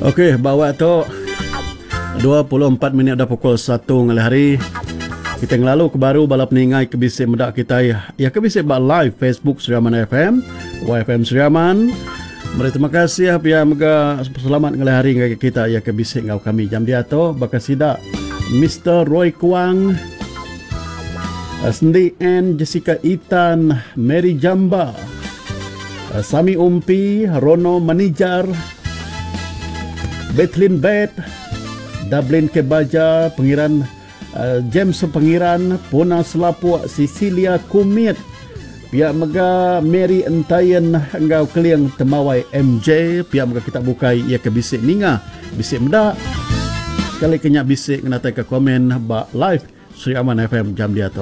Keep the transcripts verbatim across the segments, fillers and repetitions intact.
Okey, bawa tu dua puluh empat minit dah pukul satu ngalih hari. Kita ngelalu ke baru bala peningai ke bisi meda kita ya ke bisi ba live Facebook Sri Aman F M, Y F M Sri Aman. Meri terima kasih pia mega selamat ngalih hari ngagai kita ya ke bisi ngau kami jam dia tu baka sida Mister Roy Kuang, Sendi N, Jessica Itan, Mary Jamba, Sami Umpi, Rono Manijar, Bethlin Bet, Dublin Kebaja, Pengiran uh, James Pengiran, Puna Selapuk, Cecilia Kumit, pihak mega Mary Entayan enggau Keling Temawai M J, pihak mega kita bukai ia ke bisik ninga, bisik meda. Sekali kenyak bisik ngenatai ke komen ba live Sri Aman F M jam dia tu.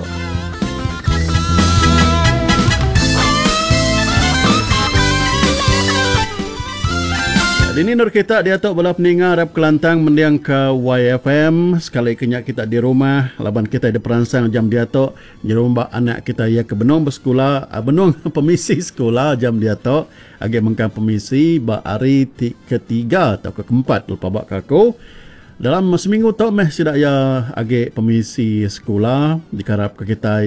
Ini nur kita dia tu bala peninga rap Kelantang mendiang ke Y F M. Sekali kenyak kita di rumah laban kita di peransang jam dia tu nyerumba anak kita ia ke benung bersekolah, benung pemisi sekolah jam dia tu agi mengkang pemisi ba hari ti ketiga atau ke keempat lupa bak aku. Dalam seminggu tu meh sida ya agi pemisi sekolah dikarap ke kita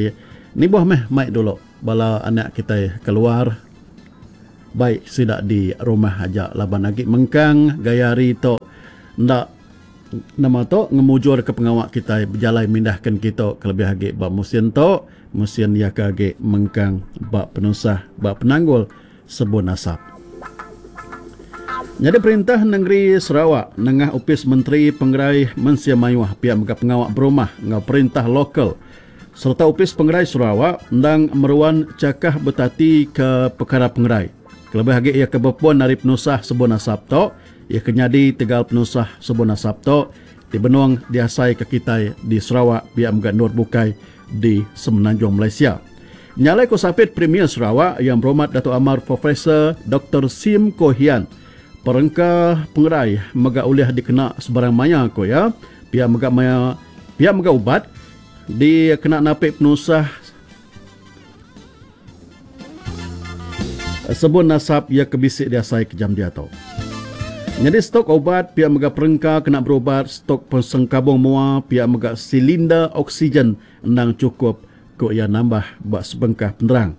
ni buah meh mai dulu bala anak kita keluar. Baik sida di rumah aja laban agi mengkang gaya hari tu ndak nama tu ngemujur ke pengawak kita berjalai mindahkan kita kelebih agi ba musim tu musim ya ke agi mengkang ba penusah ba penanggul sebun asap. Jadi perintah negeri Sarawak nengah Opis Menteri Pengerai Mensia Mayuh pihak mega pengawak berumah ngau perintah lokal serta Opis Pengerai Sarawak endang meruan cakah betati ke perkara pengerai. Kelebih agi ia ke berpuan dari penusah sebun asap tu, ia ke nyadi tegal penusah sebun asap tu di benung diasai ke kita di Sarawak pihak mega nur bukai di Semenanjung Malaysia. Nyalai ko sapit Premier Sarawak yang berhormat Datuk Amar Profesor Doktor Sim Koh Hian. Perengka pengerai mega ulih dikena sebarang maya ko ya. Pihak mega maya pihak mega ubat dikena napik penusah sebun asap ia kebisik diasai ke jam dia tu. Jadi stok obat pihak mega perengka kena berubat, stok persengkabung mua pihak mega silinder oksigen endang cukup ko ia nambah buat sebengkah penerang.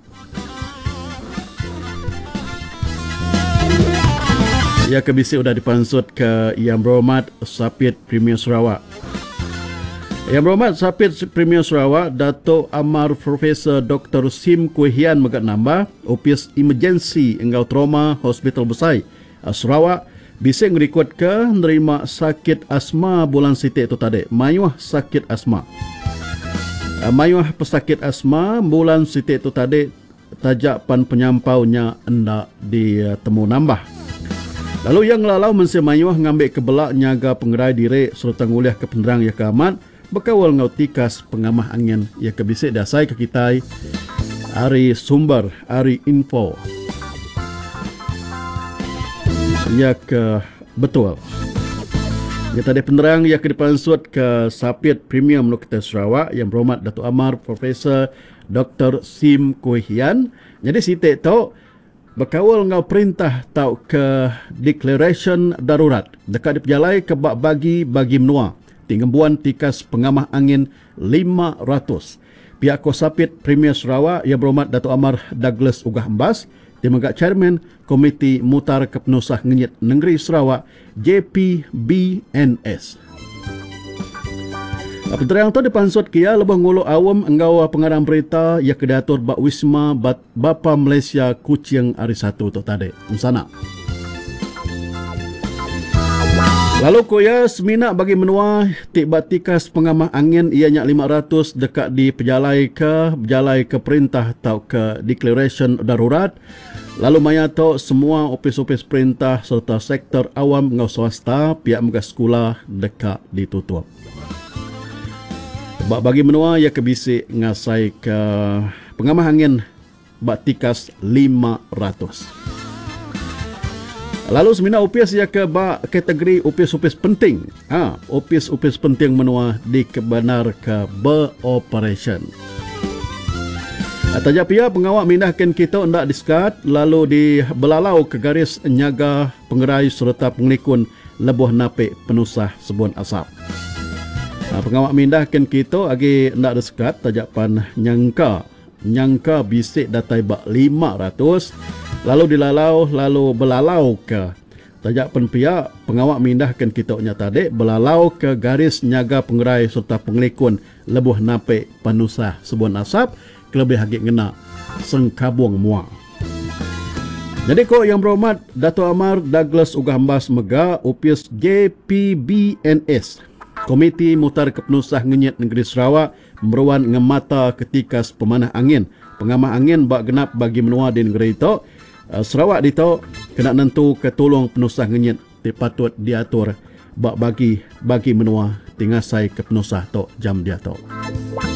Ia kebisik sudah dipansut ke Yang Berhormat Sapit Premier Sarawak. Yang Berhormat Sapit Premier Sarawak Datuk Amar Profesor Doktor Sim Kui Hian mega nambah Opis Emergency enggau Trauma Hospital Besai Sarawak bisa ngerikod ke nerima sakit asma bulan sitik tu tadi. Mayuh sakit asma. Mayuh pesakit asma bulan sitik tu tadi tajak pan penyampaunya endak ditemu nambah. Lalu yang lalau mensia mayuh ngambil kebelak nyaga pengerai diri serta ngulih ke penerang ya ke amat bekawal ngau tikas pengamah angin ya ke bisik dasai ke kita ari sumber ari info ya ke betul. Ya tadi penerang ya ke dipansut ke Sapit Premier Menua Sarawak yang berhormat Datuk Amar Profesor Doktor Sim Kui Hian. Jadi sitik tu bekawal ngau perintah tau ke declaration darurat dekat dipejalai ke bak bagi-bagi menua tinggembuan tikas pengamah angin lima ratus. Pihak Kosapit Premier Sarawak yang berhormat Datuk Amar Douglas Uggah Embas dia mega Chairman Komiti Mutar Kepenusah Ngenyit Negeri Sarawak J P B N S. Penerang tu dipansut kia lebih ngulu awam enggau pengarang berita ia kedatur bak Wisma Bapa Malaysia Kuching hari satu tu tadi. Sana. Lalu koya semina bagi menua tik batikas pengamah angin ianya lima ratus dekat di pejalai ke berjalai ke perintah atau ke declaration darurat. Lalu maya tu semua opis-opis perintah serta sektor awam ngau swasta pihak mega sekolah dekat ditutup. Bak bagi menua ia kebisik ngasai ke pengamah angin bak tikas lima ratus. Lalu semina upis ia ke bak kategori upis-upis penting. Ha, upis-upis penting menua dikebenar ke beroperation. Taja pia pengawa mindahkan kita enda disekat lalu di belalau ke garis nyaga pengerai sereta pengelikun lebuh napi penusah sebun asap. Pengawa mindahkan kita agi enda disekat taja pan nyangka nyangka bisik datai ba lima ratus lalu dilalau lalu belalau ke taja pen pia pengawa mindahkan kita nya tadi belalau ke garis nyaga pengerai sereta pengelikun lebuh napi penusah sebun asap kelebih agi ngena sengkabung mua. Jadi ko Yang Berhormat Dato' Amar Douglas Uggah Embas mega Opis J P B N S Komiti Mutar Kepenusah Ngenyit Negeri Sarawak meruan ngemata ketika pemanah angin pengamah angin bak genap bagi menua di negeri itu Sarawak dito kena nentu ke tolong penusah ngenyit ti patut diatur bak bagi bagi menua tingasai ke penusah tok jam dia tok.